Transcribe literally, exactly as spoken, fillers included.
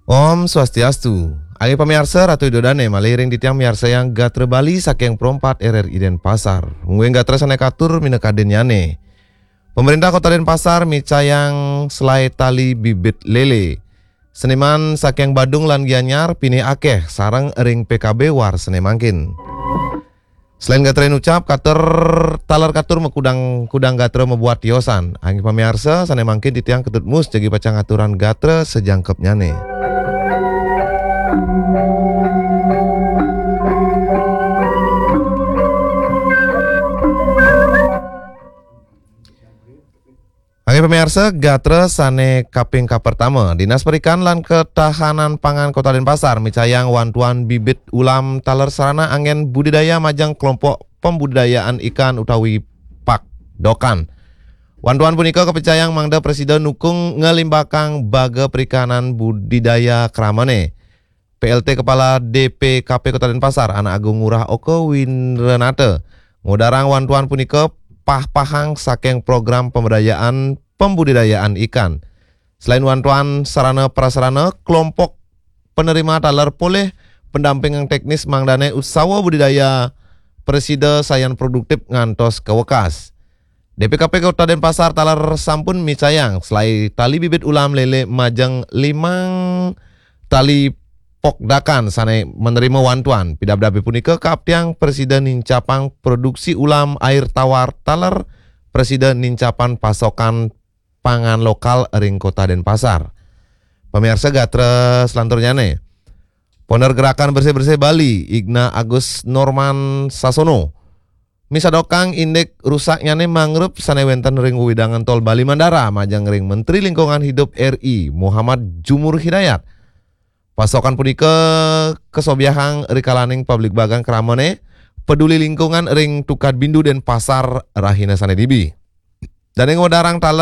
Om Swastiastu. Inggih pamiarsa, Ratu Ida Dane malih ring titiang miarsayang gatra Bali saking Pro empat R R I Denpasar. Mungguing gatra sane katur minakadinnyane. Pemerintah Kota Denpasar micayang selai tali bibit lele. Seniman saking Badung lan Gianyar pinih akeh sareng ring P K B war sene mangkin. Selain gatra inucap, katur taler katur makudang-kudang gatra mabuat tiosan. Inggih pamiarsa, sane mangkin titiang Ketut Mus jagi pacang aturang gatra sajangkepnyane. Inggih pamiarsa, gatra sane kaping kapertama, Dinas Perikanan lan Ketahanan Pangan Kota Denpasar micayang wantuan bibit ulam taler sarana anggen budidaya majeng kelompok pembudidayaan ikan utawi pakdokan. Wantuan punika kapicayang mangda prasida nukung nglimbakang baga perikanan budidaya kramane. P L T Kepala D P K P Kota Denpasar, Anak Agung Ngurah Oka Winrenata, ngudarang wantuan punika pah-pahang saking program pemberdayaan pembudidayaan ikan. Selain wantuan sarana prasarana, kelompok penerima taler polih pendampingan teknis mangdane usaha budidaya prasida sayan produktif ngantos kawekas. D P K P Kota Denpasar taler sampun micayang selai tali bibit ulam lele majeng limang tali pokdakan sane menerima wantuan. Pidabdabe punika kaaptiang prasida nincapang produksi ulam air tawar taler prasida nincapang pasokan pangan lokal ring Kota Denpasar. Pamiarsa gatra selanturnyane. Poner Gerakan Bersih-Bersih Bali, Igna Agus Norman Sasono, misadokang indik rusaknyane mangrove sane wenten ring wewidangan Tol Bali Mandara majeng ring Menteri Lingkungan Hidup R I, Muhammad Jumur Hidayat. Pasokan punika kasobiahang rikalaning pabligbagan kramane peduli lingkungan ring Tukad Bindu Denpasar rahina sane dibi. Dane ngwedarang taler